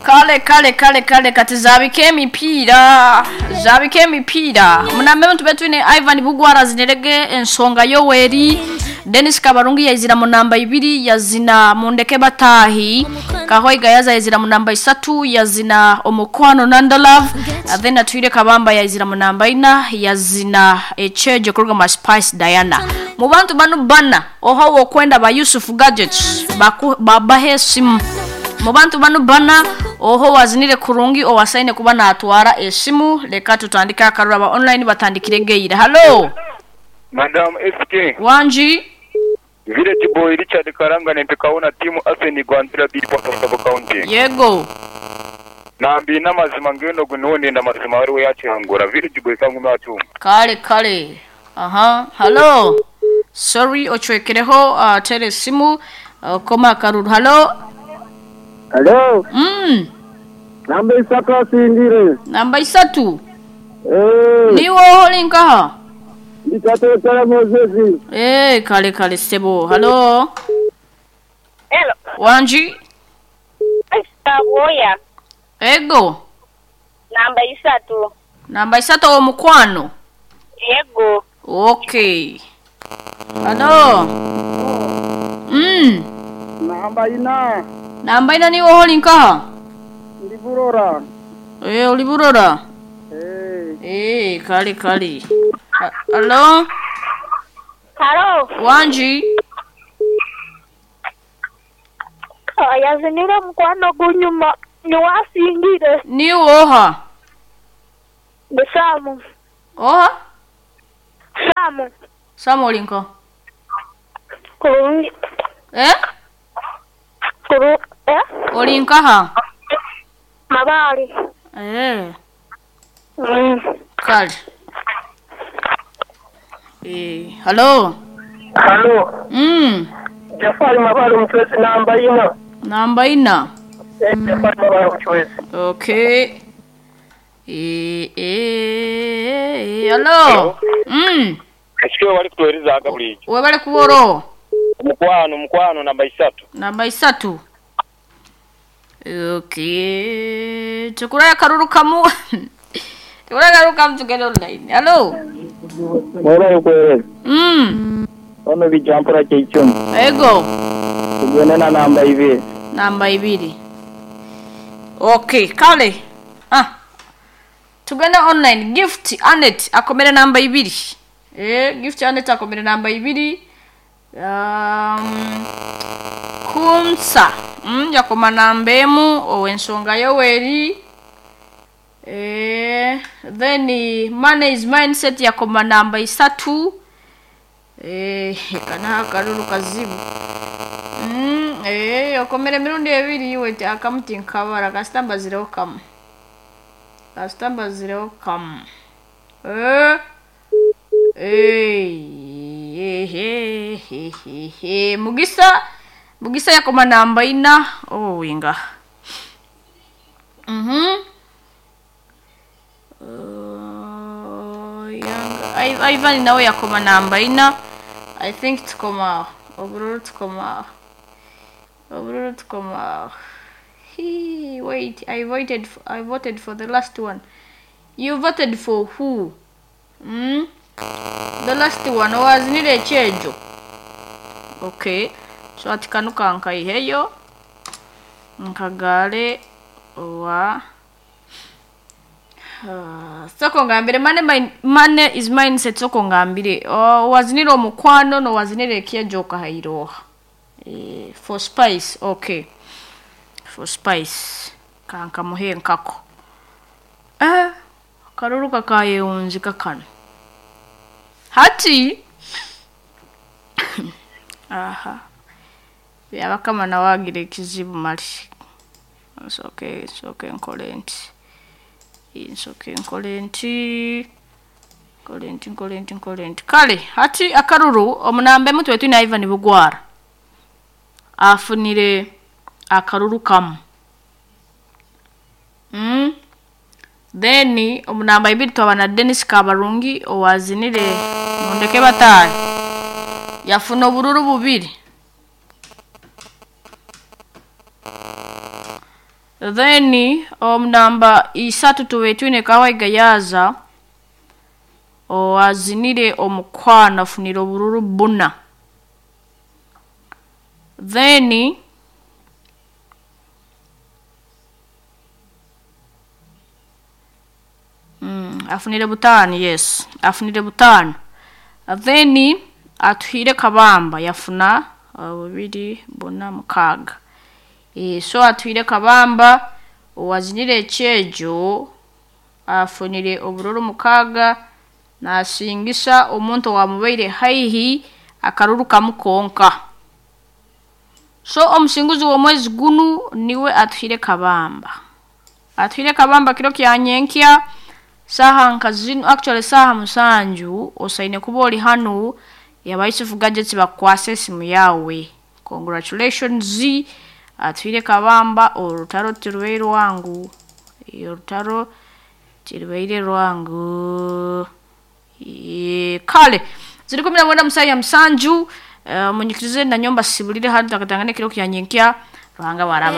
Kale kale kale kale kati zaabika emipiira zaabika emipiira munambe tube twine Ivan Bugwara azinirege ensonga Yoweri Dennis Kabarungi yaizira mu namba ibiri yazina mundeke batahi Kahoiga yaza yaizira mu namba isatu yazina omukwano Nanda Love then Atwire Kabamba yaizira mu namba ina yazina echejo kuruga ma Spice Diana mu bantu banu bana oho wokwenda ba Yusuf Gadgets baku babahe simu mu bantu banu bana oho wazinire kurungi owasaine kuba natwara esimu leka tutandike akarura aba online batandikire geira hallo Madam SK, wanji Village Boy Richard Karanga nempekawo tiimu Arsene Gwandira Biri Sabo County. Yego. Nambi n'amazima ngeno guno nenda amazima wariwe yakihangura Village Boy kangume atumba. Kale kale aha hallo sorry ochwekereho tere esimu koma akaruru hallo. Hello. Namba isatu asingire. Namba isatu. Eh. Niwe oli nkaha? Nditatotala Moses. Eh, kale kale sebo. Hello. Hello. Wanji. Saboya. Ego. Namba isatu. Namba isatu omukwano. Ego. Okay. Hello. Namba ina. Namba ina niwe oli nkaha? Ndi Burora. Eh, oli Burora. Eh. Eh, kale kale. Hello. Hello. Wanji. Yazinira mukwano gunyuma niwasingire. Niwe oha? Ndi Samu. Oha? Samu. Samu oli nkaha? Kurungi. Eh? Kuru eh? Oli nkaha? Mabali. Eh. Kale. Eh, hello. Hello. Jafari Mabali mchwezi namba ina. Namba ina. Eh, Jafari Mabali mchwezi. Okay. Eh, eh, hello. Ekyo wali kutuhereza aga bulijo. Webale kuboro. Mukwano mukwano namba isatu. Namba isatu. Okay. Tukuraya karuru kamu. Tukuraya karuru kamu tugende online. Hello. Mwebale kuhereza. Ono bijampura kyeicumu. Ego. Tugende na namba ibiri. Namba ibiri. Okay, kale. Ah. Tugende online. Gift Anet akomere namba ibiri. Eh, Gift Anet akomere namba ibiri. Kumsa. Yakoma namba emu owensonga Yoweri. Eh, then money is mindset yakoma namba isatu. Eh, kana akaruru kazibu. Eh, okomere emirundi ebiri iwe akamuti nkabara kasitamba zireho kamu. Kasitamba zireho kamu. Eh. Eh, eh, eh, eh, Mugisa Mugisa yakoma namba ina. Oh, winga. Yanga Ivan nawe yakoma namba ina. I think tukoma obururu tukoma. Obururu tukoma. He wait, I voted for the last one. You voted for who? The last one was nile chejo. Okay. So atikanuka nkaiheyo. Nkagale wa soko ngambire money is mindset soko ngambire. Wazinire omukwano no wazinire kyejo kahairoha. Eh, for spice, okay. For spice. Kanka muhe nkako. Eh, karuru kakayewunzika kano. Hati. Aha. Byabakama nawagira ekizibu mali. Nsoke nsoke nkole nti. Nsoke nkole nti. Nkole nti nkole nti nkole nti. Kale hati akaruru omunambe mutwe twine Ivan Bugwara. Afunire akaruru kamu. Then omunamba ibiri twabana Dennis Kabarungi owazinire mundeke batayi. Yafuna obururu bubiri. Then omunamba 3 tube twine Kawaiga Yaza owazinire omukwano afunire obururu 4. Then afunire 5, yes, afunire 5. Then atuhire Kabamba yafuna 2 4 6. So atuhire Kabamba owazinire ekyejo afunire obururu 6 nasingisa omuntu owamubaire haihi akaruru kamukonka. So omusinguzi w'omwezi gunu niwe atuhire Kabamba. Atuhire Kabamba kiro kya nyenkya saha nka zinu, actually saha 7 osaine kuba ori hanu yabaisifu gadgets bakwase esimu yawe. Congratulations atuhire Kabamba, orutaro tirubaire rwangu. Orutaro tirubaire rwangu. Kale ziri 19 musayi ya 7. Munyikirize na nyomba sibulire hanu takatangane kiro kya nyenkya Ruhanga waraba.